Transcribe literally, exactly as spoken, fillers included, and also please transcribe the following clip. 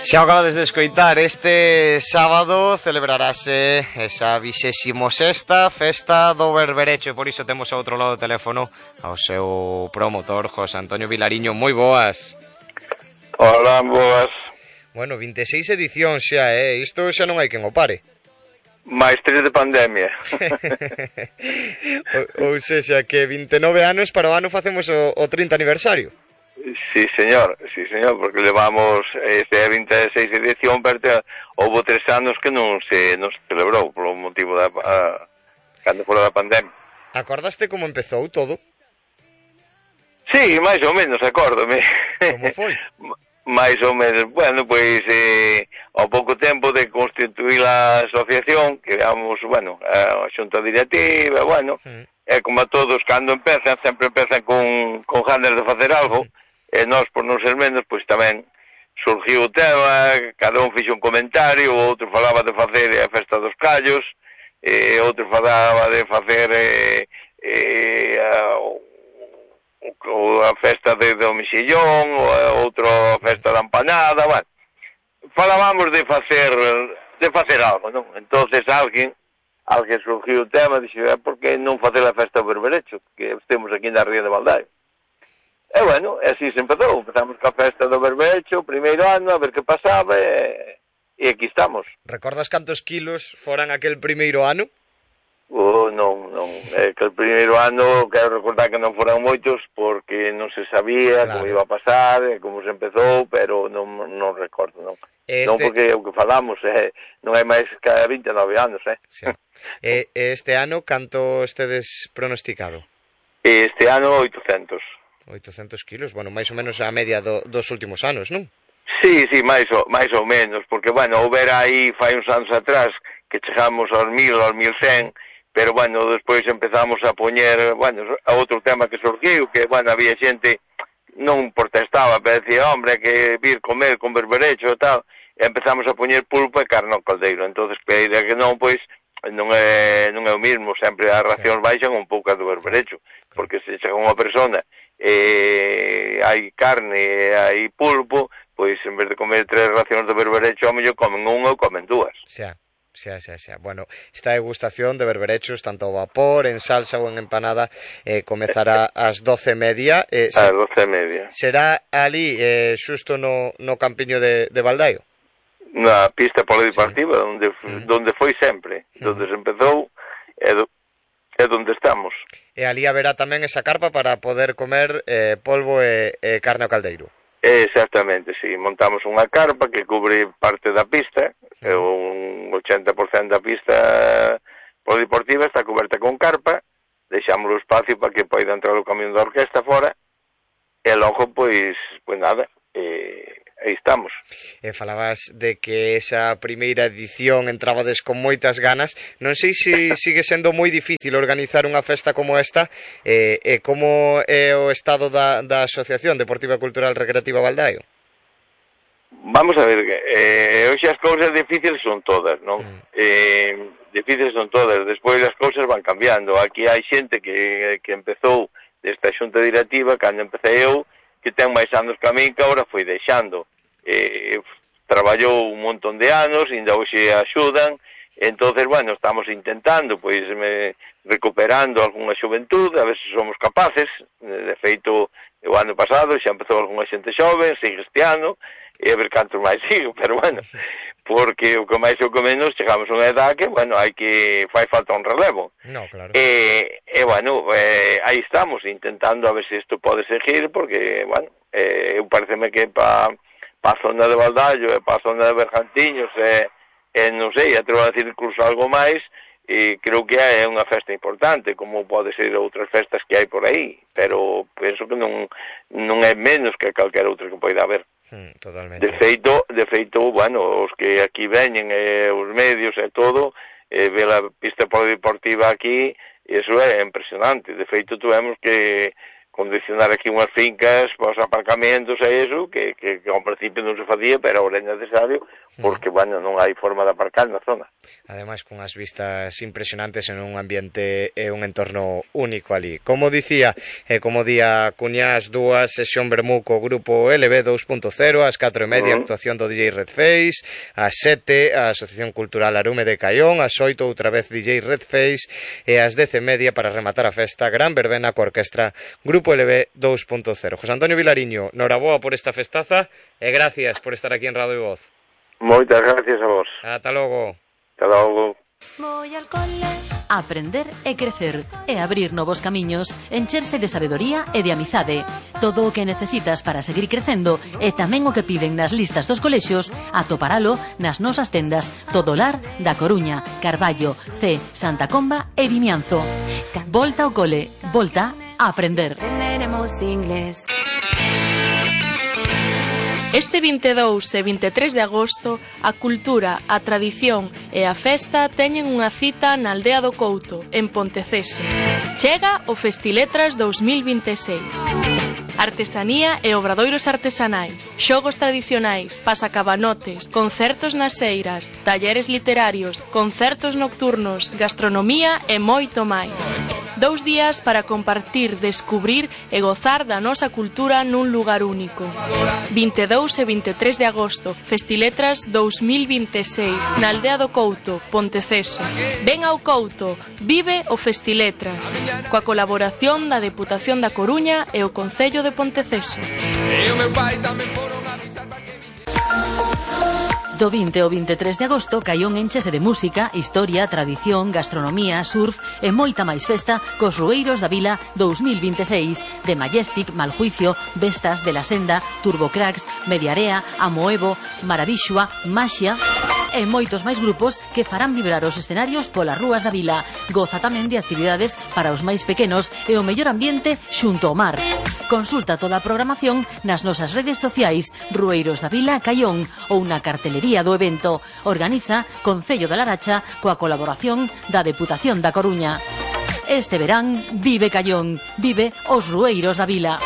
Xa acabades de escoitar, este sábado celebrarase esa vixésimo sexta festa do Berberecho e por iso temos ao outro lado do teléfono ao seu promotor, José Antonio Vilariño. Moi boas. Hola, boas. Bueno, vinte e seis edicións xa, eh? Isto xa non hai quen o pare. Mais tres de pandemia. ou, ou sexa, que vinte e nove anos para o ano facemos o, o trinta aniversario. Sí, señor, sí, señor, porque levamos este vinte e seis edición, pero houve tres anos que non se, non se celebrou polo motivo da a, cando fora da pandemia. Acordaste como empezou todo? Sí, máis ou menos, acórdome. Como foi? máis ou menos, bueno, pois eh, ao pouco tempo de constituir a asociación, que éramos, bueno, a xunta directiva, bueno, sí. É como a todos, cando empezan, sempre empezan con, con ganas de facer algo, sí. E nós, por non ser menos, pois tamén surgiu o tema, cada un fixo un comentario, outro falaba de facer a festa dos callos, e outro falaba de facer eh, eh, a, a festa de, do mexillón, ou outro a festa da empanada, bueno, falábamos de facer de facer algo, non? Entonces alguén alguén surgiu o tema, dixo, por que non facer a festa do Berberecho, que estemos aquí na Ría de Baldaio. E bueno, así se empezou, empezamos ca festa do Berberecho, o primeiro ano, a ver que pasaba, e, e aquí estamos. Recordas cantos kilos foran aquel primeiro ano? Oh, non, non, é que o primeiro ano, quero recordar que non foran moitos, porque non se sabía claro. Como iba a pasar, como se empezou, pero non, non recordo, non. Este... Non porque o que falamos, eh, non hai máis que vinte e nove anos, eh. Sí. E este ano, canto estedes pronosticado? Este ano, oitocentos. oitocentos kilos, bueno, máis ou menos a media do, dos últimos anos, non? Sí, sí, máis ou, máis ou menos, porque, bueno, houbera aí fai uns anos atrás que chegamos aos mil, aos mil cen, pero, bueno, despois empezamos a poñer, bueno, a outro tema que surgiu, que, bueno, había xente non protestaba, pero decía, hombre, que vir comer con berberecho e tal, e empezamos a poñer pulpo e carne ao caldeiro, entonces, pero que non, pois, non é, non é o mismo, sempre as racións baixan un pouco a do berberecho, porque se chega unha persona e hai carne e hai pulpo, pois en vez de comer tres racións de berberecho, ao mellor comen unha ou comen dúas. Xa, xa, xa, xa. Bueno, esta degustación de berberechos, tanto ao vapor, en salsa ou en empanada, eh, comezará ás doce e media. Eh, se... Ás doce e media. Será ali, eh, xusto no, no campiño de, de Baldaio? Na pista polideportiva, sí. Donde, uh-huh. Donde foi sempre, uh-huh. Donde se empezou, e do... é donde estamos. E ali haberá tamén esa carpa para poder comer eh, polvo e, e carne ao caldeiro. Exactamente, sí. Montamos unha carpa que cubre parte da pista, sí. Un ochenta por cento da pista polideportiva está coberta con carpa, deixamos o espacio para que poida entrar o camión da orquesta fora, e logo, pois, pois nada, eh, aí estamos. E falabas de que esa primeira edición entrabades con moitas ganas. Non sei se sigue sendo moi difícil organizar unha festa como esta, e, e como é o estado da, da Asociación Deportiva Cultural Recreativa Baldaio? Vamos a ver, eh, hoxe as cousas difíciles son todas, non? Mm. Eh, difíciles son todas, despois as cousas van cambiando. Aquí hai xente que, que empezou desta xunta directiva, cando empecé eu, que ten máis anos que a min, que agora foi deixando. Eh, traballou un montón de anos, ainda hoxe axudan, entonces, bueno, estamos intentando, pois, me, recuperando algunha xuventude, a ver se somos capaces. De feito, o ano pasado xa empezou algunha xente xoven, sigue este ano, e a ver cantos máis sigo, pero bueno, porque o que máis ou que menos chegamos a unha edad que, bueno, hai que fai falta un relevo. No, claro. E, e bueno, eh, aí estamos intentando a ver se isto pode seguir, porque, bueno, eh, eu pareceme que pa, pa zona de Baldaio e pa zona de Bergantiños e, e non sei, atrevo a decir incluso algo máis, e creo que é unha festa importante, como pode ser outras festas que hai por aí, pero penso que non, non é menos que calquera outra que poida haber. Mm, totalmente. De feito, de feito, bueno, os que aquí veñen, eh, os medios e todo, eh, ver a pista polideportiva aquí, eso é impresionante. De feito, tuvemos que condicionar aquí unhas fincas para os aparcamentos e iso, que, que, que ao principio non se facía, pero ahora é necesario, porque, mm. bueno, non hai forma de aparcar na zona. Ademais, con as vistas impresionantes en un ambiente e un entorno único ali. Como dicía, e como día cuñás dúas, sesión vermú co grupo L B dos punto cero, ás catro e media, uh -huh. actuación do D J Red Face, ás sete, a Asociación Cultural Arume de Caión, ás oito, outra vez D J Red Face, e ás dez e media, para rematar a festa, gran verbena coa orquestra Grupo L B dos punto cero. José Antonio Vilariño, noraboa por esta festaza, e gracias por estar aquí en Radio Voz. Moitas gracias a vos. Ata logo. Ata logo. Voy al cole. Aprender e crecer e abrir novos camiños, encherse de sabedoría e de amizade. Todo o que necesitas para seguir crecendo e tamén o que piden nas listas dos colexios, atoparalo nas nosas tendas Todolar da Coruña, Carballo, C, Santa Comba e Vimianzo. Volta ao cole, volta a aprender. Aprenderemos inglés. Este vinte e dous e vinte e tres de agosto, a cultura, a tradición e a festa teñen unha cita na aldea do Couto, en Ponteceso. Chega o Festiletras dous mil vinte e seis. Artesanía e obradoiros artesanais, xogos tradicionais, pasacabanotes, concertos nas eiras, talleres literarios, concertos nocturnos, gastronomía e moito máis. Dous días para compartir, descubrir e gozar da nosa cultura nun lugar único. vinte e dous e vinte e tres de agosto, Festiletras dous mil vinte e seis, na aldea do Couto, Ponteceso. Ven ao Couto, vive o Festiletras, coa colaboración da Deputación da Coruña e o Concello de Ponteceso. Do vinte ao vinte e tres de agosto, Caión enchese de música, historia, tradición, gastronomía, surf e moita máis festa cos Rueiros da Vila dous mil vinte e seis, de Majestic, Maljuicio, Vestas, De la Senda, Turbocracks, Mediarea, Amoevo, Maravixua, Maxia e moitos máis grupos que farán vibrar os escenarios polas rúas da vila. Goza tamén de actividades para os máis pequenos e o mellor ambiente xunto ao mar. Consulta toda a programación nas nosas redes sociais Rueiros da Vila Caión ou na cartelería do evento. Organiza Concello da Laracha coa colaboración da Deputación da Coruña. Este verán vive Caión, vive os Rueiros da Vila.